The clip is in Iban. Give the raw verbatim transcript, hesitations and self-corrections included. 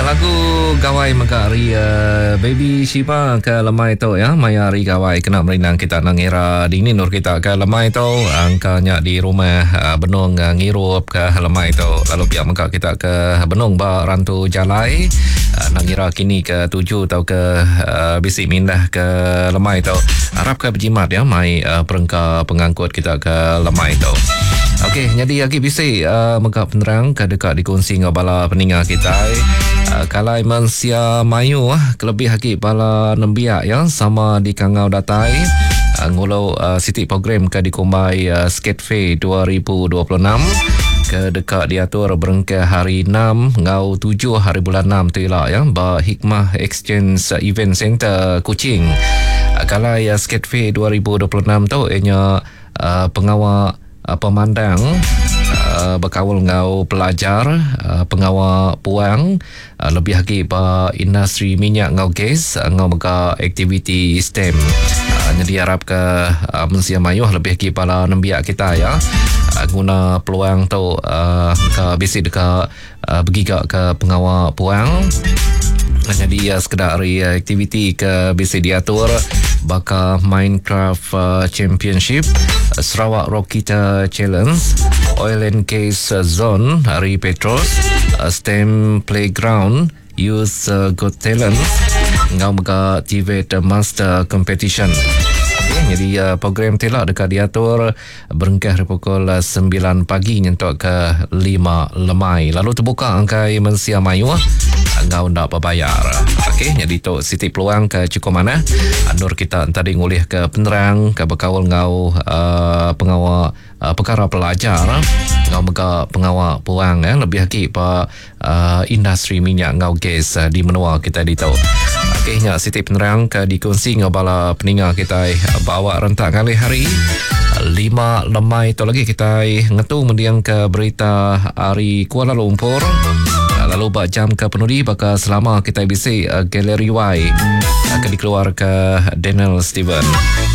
Lagu Gawai mega ari uh, Baby Shiba ke lemai tu ya, maya hari Gawai kena merindang kita nang era dini nur kita ke lemai tu, angkanya di rumah uh, benung uh, ngirup ke lemai tu, lalu pihak mega kita ke benung ba rantu jalai uh, nang ngira kini ke tuju atau ke uh, bisi mindah ke lemai tu, harap ke berjimat ya mai uh, perengka pengangkut kita ke lemai tu. Okey, jadi lagi bisi uh, mega penerang ke dekat dikongsi dengan bala peninga kita. Uh, kalai mensia mayu uh, kelebih lagi bala nembiak ya sama di Kangau datai uh, ngulo uh, siti program ke dikumbai uh, Skate Fair dua ribu dua puluh enam ke dekat diatur berengkah hari enam ngau tujuh hari bulan enam tu ila ya ba Hikmah Exchange Event Center Kuching. Uh, kalai uh, Skate Fair dua ribu dua puluh enam tu ianya uh, pengawal Uh, pemandang uh, berkaul ngau pelajar, uh, pengawal puang, uh, lebih lagi ba industri minyak ngau gas, uh, ngau mega aktiviti STEM. Uh, jadi harap ke uh, mensia mayuh lebih lagi bala nembiak kita ya. Uh, guna peluang tu uh, ke bisi dekat uh, bergiga ke pengawal puang. Jadi uh, sekedar hari uh, aktiviti ke bisi diatur baka Minecraft uh, Championship, Sarawak Rocketeer Challenge, Oil and Gas Zone hari Petros, uh, STEM Playground, Youth uh, Got Talent, ngau mega T V E T Master Competition. Okay, jadi uh, program telak dekat diatur berengkah dari pukul sembilan pagi nyentuk ke lima lemai. Lalu terbuka angkai mensia mayu ngau ndak berbayar. Okey, jadi tu siti peluang ke cukup mana andur kita tadi ngulih ke penerang ke berkaul ngau uh, pengawal uh, perkara pelajar ngau mega pengawal peluang eh, lebih lagi pa uh, industri minyak ngau gas uh, di menua kita di tu. Okey, nya siti penerang ke dikongsi ngau bala peninga kita bawa rentak kali hari lima lemai tu lagi kita ngetu mendiang ke berita hari Kuala Lumpur. Lalu bak jam ke penudi bakal selama kita bisi uh, Galeri Y akan dikeluar ke Daniel Steven.